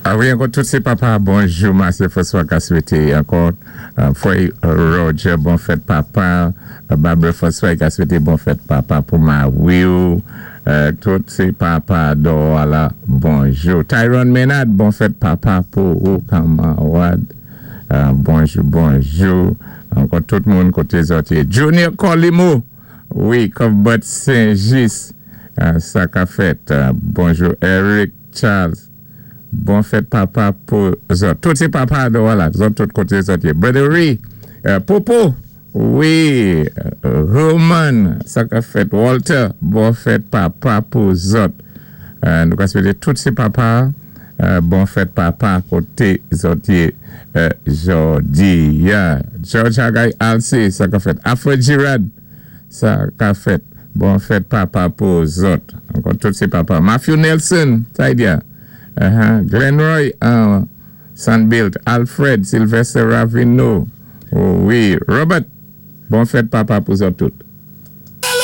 A wi, ankò tout sé papa, bonjou, Marcel François ka swété ankò Frè Roger, bon fèt papa. Barbara François ka swété bon fèt papa pou mari'w. Tout sé papa dò la, bonjou. Tyrone Menard, bon fèt papa pou ou, kanmarad. Bonjou, bonjou. Ankò tout moun koté zòt yé. Junior Colimo, wi, Cuthbert Saint-Just, sa ka fèt. Bonjou Eric Charles. Bon fèt papa pou zòt. Tout sé papa dò la, zòt tout koté zòt yé. Brother Ray, Popo, wi, Roman, sa ka fèt. Walter, bon fèt papa pou zòt. Nou ka swété tout sé papa, bon fèt papa koté zòt yé jòdi a. George Hagay Alcé, sa ka fèt. Alfred Girard, sa ka fèt. Bon fèt papa pou zòt. Ankò tout sé papa. Matthew Nelson, Taidia. Glenroy Sandbilt, Alfred, Sylvester Ravino. Wi, Robert, bon fèt papa pou zòt tout.